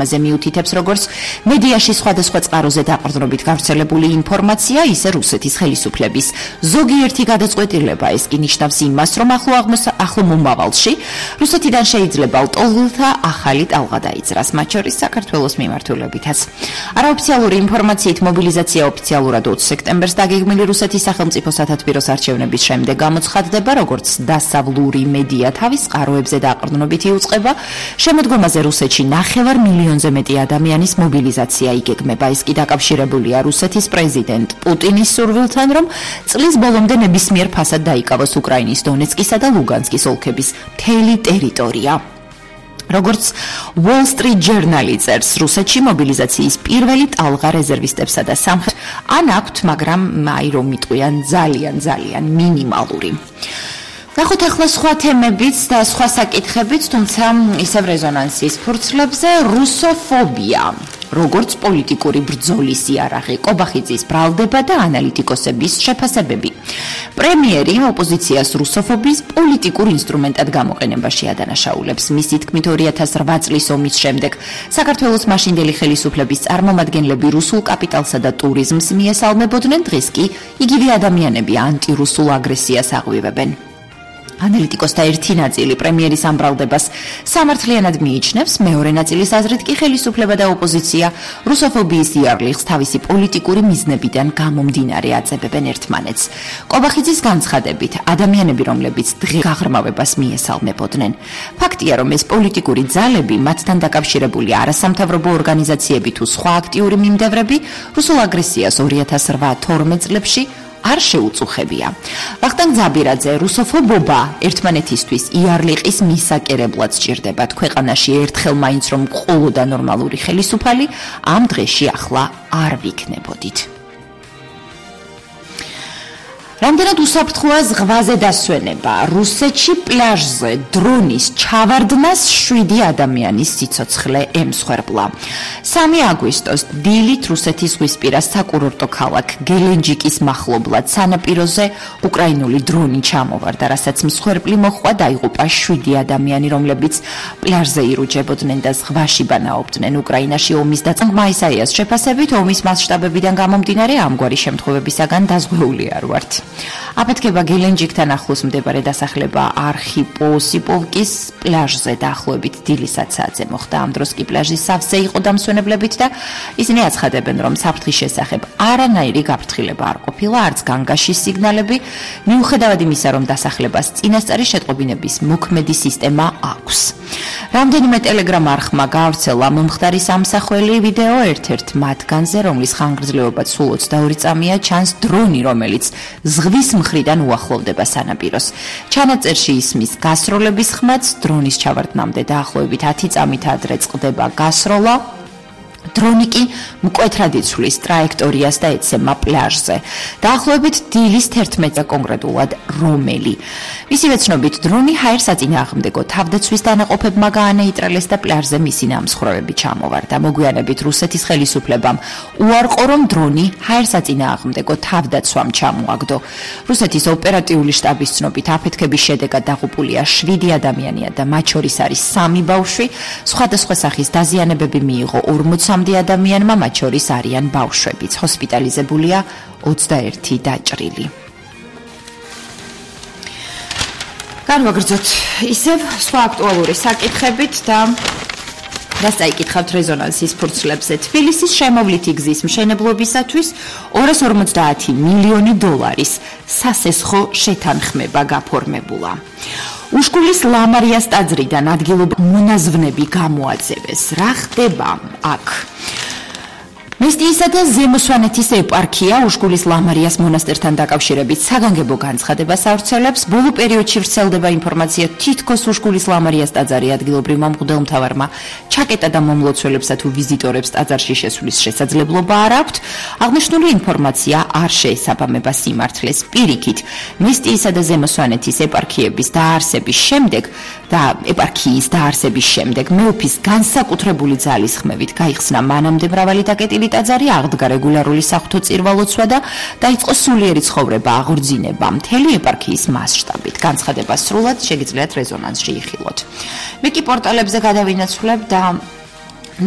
ამაზე მიუთითებს, როგორც მედიაში სხვადასხვა წყაროზე დაყრდნობით გავრცელებული ინფორმაცია, ისე რუსეთის ხელისუფლების ზოგიერთი გადაწყვეტილება. ეს კი ნიშნავს იმას, რომ ახლო მომავალში რუსეთიდან შეიძლება ლტოლვილთა ახალი ტალღა დაიძრას, მათ შორის საქართველოს მიმართულებითაც. არაოფიციალური ინფორმაციით მობილიზაცია ოფიციალურად 20 სექტემბერს დაგეგმილი რუსეთის სახელმწიფო სათათბიროს არჩევნების შემდეგ გამოცხადდება, როგორც დასავლური მედია თავის წყაროებზე დაყრდნობით იუწყება. შემოდგომაზე რუსეთში 9 მილიონზე მეტი ადამიანის მობილიზაცია იგეგმება. ეს კი დაკავშირებულია რუსეთის პრეზიდენტ პუტინის სურვილთან, რომ წლის ბოლომდე ნებისმიერ ფასად დაიკავოს უკრაინის დონეცკისა და ლუგანსკის ოლქების მთელი ტერიტორია. როგორც Wall Street Journal-ი წერს, რუსეთში მობილიზაციის პირველი ტალღა რეზერვისტებსა და სამხრეთ ან აქვთ, მაგრამ აი რომ იტყვიან ძალიან მინიმალური. ნახოთ ახლა სხვა თემებიც და სხვა საკითხებიც, თუმცა ისევ რეზონანსის ფურცლებზე რუსოფობია. როგორც პოლიტიკური ბრძოლის იარაღი, კობახიძის ბრალდება და ანალიტიკოსების შეფასებები. პრემიერი ოპოზიციას რუსოფობის პოლიტიკურ ინსტრუმენტად გამოყენებაში ადანაშაულებს. მისი თქმით 2008 წლის ომის შემდეგ საქართველოს მაშინდელი ხელისუფლების წარმომადგენლები რუსულ კაპიტალსა და ტურიზმს მიესალმებოდნენ, დღეს კი იგივე ადამიანები ანტირუსულ აგრესიას აღვივებენ. ანალიტიკოსთა ერთი ნაწილი პრემიერის ამ ბრალდებას სამართლიანად მიიჩნევს, მეორე ნაწილის აზრით კი ხელისუფლება და ოპოზიცია რუსოფობიის იარლიხს თავისი პოლიტიკური მიზნებიდან გამომდინარე აწებებენ ერთმანეთს. კობახიძის განცხადებით, ადამიანები, რომლებიც დღეს გაღრმავებას მიესალმებოდნენ. ფაქტია, რომ ეს პოლიტიკური ძალები, მათთან დაკავშირებული არასამთავრობო ორგანიზაციები თუ სხვა აქტიური მიმდევრები რუსულ აგრესიას 2008-12 წლებში არ შეუწუხებია. ვახტანგ ძაბირაძე, რუსოფობობა ერთმანეთისთვის იარლიყის მისაკერებლად სჭირდებათ. ქვეყანაში ერთხელ მაინც რომ ყოლოდა ნორმალური ხელისუფალი, ამ დღეში ახლა არ ვიქნებოდით. რამდენად უსაფრთხოა ზღვაზე დასვენება. რუსეთში პლაჟზე დრონის ჩავარდნას 7 ადამიანის სიცოცხლე ემსხვერპლა. 3 აგვისტოს დილით რუსეთის ზღვისპირა საკურორტო ქალაქ გელენჯიკის მახლობლად სანაპიროზე უკრაინული დრონი ჩამოვარდა, რასაც მსხვერპლი მოჰყვა, დაიღუპა 7 ადამიანი, რომლებიც პლაჟზე ირუჯებოდნენ და ზღვაში ბანაობდნენ. უკრაინაში ომის დაწინაურება ისაიას შეფასებით, ომის მასშტაბებიდან გამომდინარე ამგვარი შემთხვევებისაგან დაზღვეული არ ვართ. აფეთქება გელენჯიკთან ახლოს მდებარე დასახლება არხიპოსიპოვკის პლაჟზე დაახლოებით დილის 10 საათზე მოხდა. ამ დროს კი პლაჟი სავსე იყო დამსვენებლებით და ისინი აცხადებენ, რომ საფრთხის შესახებ არანაირი გაფრთხილება არ ყოფილა, არც განგაშის სიგნალები, მიუხედავად იმისა, რომ დასახლებას წინასწარი შეტყობინების მოქმედი სისტემა აქვს. რამდენიმე ტელეგრამ არხმა გაავრცელა მომხდარი სამსახველი ვიდეო, ერთ-ერთ მათგანზე, რომლის ხანგრძლივობაც სულ 22 წამია, ჩანს დრონი, რომელიც ზღვის მხრიდან უახლოვდება სანაპიროს. ჩანაწერში ისმის გასროლების ხმაც, დრონის ჩავარდნამდე დაახლოებით 10 წამით ადრე წყდება გასროლა. დრონი კი მკვეთრად იცვლის ტრაექტორიას და ეცემა პლაჟზე. დაახლოებით დილის 11-ზე კონკრეტულად რომელი. მისივე ცნობით, დრონი ჰაერსაწინააღმდეგო თავდაცვის დანაყოფებმა გაანეიტრალეს და პლაჟზე მისი ნამსხვრევები ჩამოვარდა. მოგვიანებით რუსეთის ხელისუფლებამ უარყო, რომ დრონი ჰაერსაწინააღმდეგო თავდაცვამ ჩამოაგდო. რუსეთის ოპერატიული შტაბის ცნობით, აფეთქების შედეგად დაღუპულია 7 ადამიანია და მათ შორის არის 3 ბავშვი. სხვადასხვა სახის დაზიანებები მიიღო 40 ადამიანმა, მათ შორის არიან ბავშვებიც. ჰოსპიტალიზებულია 21 დაჭრილი. განვაგრძოთ ისევ სხვა აქტუალური საკითხებით და წაიკითხავთ რეზონანსის ფურცლებზე. თბილისის შემოვლითი გზის მშენებლობისათვის 250 მილიონი დოლარის სასესხო შეთანხმება გაფორმებულა. უშკულის ლამარიას ტაძრიდან ადგილობრივი მონაზვნები გამოაძევეს. რა ხდება აქ? მესტიისა და ზემოსვანეთის ეპარქია უშკულის ლამარიას მონასტერთან დაკავშირებით საგანგებო განცხადებას ავრცელებს. ბოლო პერიოდში ვრცელდება ინფორმაცია, თითქოს უშკულის ლამარიას ტაძარი ადგილობრივმა მღვდელმთავარმა ჩაკეტა და მომლოცველებსა თუ ვიზიტორებს ტაძარში შესვლის შესაძლებლობა არ აქვთ. აღნიშნული ინფორმაცია არ შეესაბამება სიმართლეს. პირიქით, მესტიისა და ზემოსვანეთის ეპარქიების დაარსების შემდეგ და ეპარქიის დაარსების შემდეგ მეუფის განსაკუთრებული ძალისხმევით გაიხსნა მანამდე მრავალი დაკეტილი ტაძარი, აღდგა რეგულარული საღვთო წირვა-ლოცვა და დაიწყო სულიერი ცხოვრება აღორძინება მთელი ეპარქიის მასშტაბით. განცხადება სრულად შეგიძლიათ რეზონანსში იხილოთ. მე კი პორტალებზე გადავინაცვლებ და